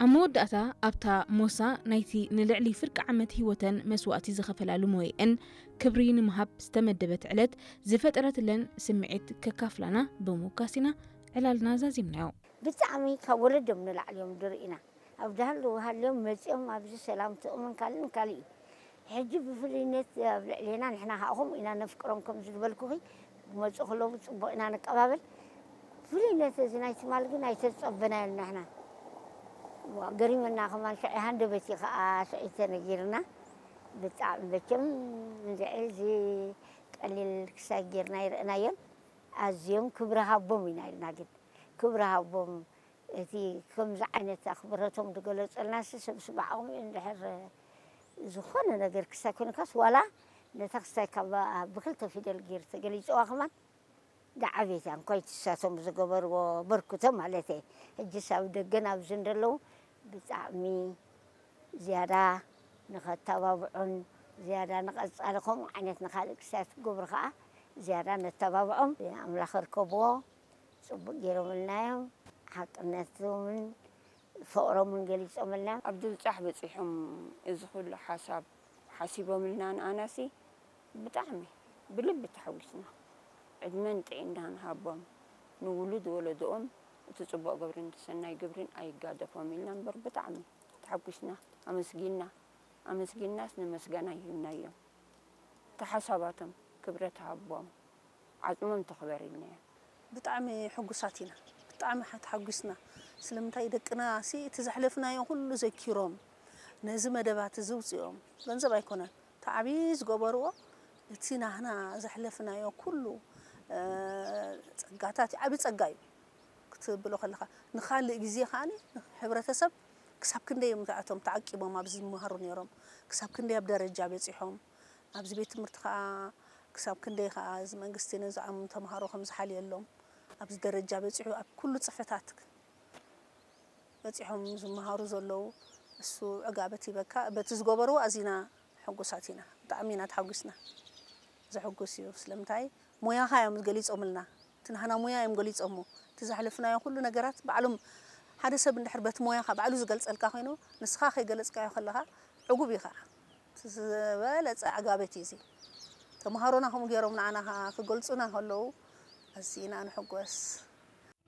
ኣብ መወዳእታ ኣብታ ሞሳ ናይቲ ንልዕሊ ፍርቂ ዓመት ህይወተን መስዋእቲ ዝኸፈላሉ መወይእን ክብሪ ንምሃብ ዝተመደበት ዕለት ዝፈጠረትለን ስምዒት ከካፍላና ብምውካስ ኢና ዕላልና ዛዚምናዮ። ብጣዕሚ ካብ ወለዶም ንላዕሊ እዮም ዝርእዩና። ኣብ ዳህሉ ሃልዮም መጺኦም ኣብዚ ሰላምትኦምን ካልእን ካልእ እዩ። ሕጂ ብፍሉይነት ኣብ ልዕሌና ንሕና ከዓ ከምኡ ኢና ነፍቅሮም ከም ዝበልኩኺ ክመፁ ከለዉ ፅቡቕ ኢና ንቀባበል። ፍሉይነት እዚ ናይ ትማል ግን ኣይተፀበናዮን ንሕና። ዋ፣ ገሪመና ከማን ሽዑ ሃንደበት እዩ ከዓ ሽዑ ተነጊርና። ብጣዕሚ መቸም እንድዒ እዚ ቀሊል ክሳይ ጌርና ይርእናዮን ኣዝዮም ክብሪ ሃቦም ኢና ኢልና ግን ክብሪ ሃቦም እቲ ከምዚ ዓይነት ኣኽብረቶም ዝገለጸልናሲ ሰብ ስባዕኦም እዩ እንድሕር ዝኾነ ነገር ክሳይ ኮንካስ ዋላ ነታ ክሳይ ካብ ብክልተ ፊደል ገይሩ ተገሊፅዋ ከማን ዝዓበየት እያ እንኳይ ትሳቶም ዝገበርዎ በርክቶ ማለት እየ ሕጅስ ኣብ ደገን ኣብዚ እንደለዉ ብጣዕሚ ዝያዳ ንኸተባብዑን ዝያዳ ንቐፃሊ ከምኡ ዓይነት ንኻልእ ክሳት ክገብሩ ከዓ ዝያዳ ነተባብዖም ኣምላኽ ርከብዎ ፅቡቅ ገይሮምልና እዮም ሓቅነቶምን ፍቅሮምን ገሊፆምልና እዮም። ኣብ ድልጫሕ በፂሖም እዚ ኩሉ ሓሳብ ሓሲቦምልና ንኣናሲ ብጣዕሚ ብልቢ ተሓጒስና ዕድመን ጥዒናን ሃቦም ንውሉድ ወለዶኦም እቲ ፅቡቅ ግብርን ሰናይ ግብርን ኣይጋደፎም ኢልና እምበር ብጣዕሚ ተሓጒስና ኣመስጊንና ኣመስጊንናስ ንመስገና ሂብናዮም እቲ ሓሳባቶም ክብረት ሃቦም ዓፅሞም ትኽበር ኢልናዮም። ብጣዕሚ ሕጉሳት ኢና፣ ብጣዕሚ ተሓጒስና። ስለምንታይ ደቅና ሲ እቲ ዘሕለፍናዮ ኩሉ ዘኪሮም ነዚ መደባት እዚ ውፅኦም ገንዘብ ኣይኮነን፣ እቲ ዓብዪ ዝገበርዎ እቲ ናህና ዘሕለፍናዮ ኩሉ ፀጋታት ዓብዪ ፀጋ እዩ ክትብሎ ከለኻ ንኻልእ ግዜ ከዓ ሕብረተሰብ ክሳብ ክንደይ እዮም እቶም ተዓቂቦም ኣብዚ ዝመሃሩ ነይሮም ክሳብ ክንደይ ኣብ ደረጃ በፂሖም ኣብዚ ቤት ትምህርቲ ከዓ ክሳብ ክንደይ ከዓ እዚ መንግስቲ ነዞም ተምሃሮ ከም ዝሓልየሎም ኣብዚ ደረጃ በፂሑ ኣብ ኩሉ ፅፍሕታት በፂሖም ዝመሃሩ ዘለዉ እሱ ዕጋበት ሂበካ በቲ ዝገበርዎ ኣዚና ሕጉሳት ኢና ብጣዕሚ ኢና ተሓጒስና ዘሕጉስ እዩ ስለምንታይ ሞያኻ እዮም ገሊፆምልና እቲ ናህና ሞያ እዮም ገሊፆሞ እቲ ዘሕለፍናዮ ኩሉ ነገራት ባዕሎም ሓደ ሰብ እንድሕር በቲ ሞያኻ ባዕሉ ዝገልፀልካ ኮይኑ ንስኻ ከይገለፅካዮ ከለኻ ዕጉብ እዩ ከዓ እቲ ዝበለፀ ዕጋበት እዩ እዚ ተምሃሮና ከምኡ ገይሮም ንዓና ከዓ ክገልፁና ከለዉ ኣዚና ንሕጎስ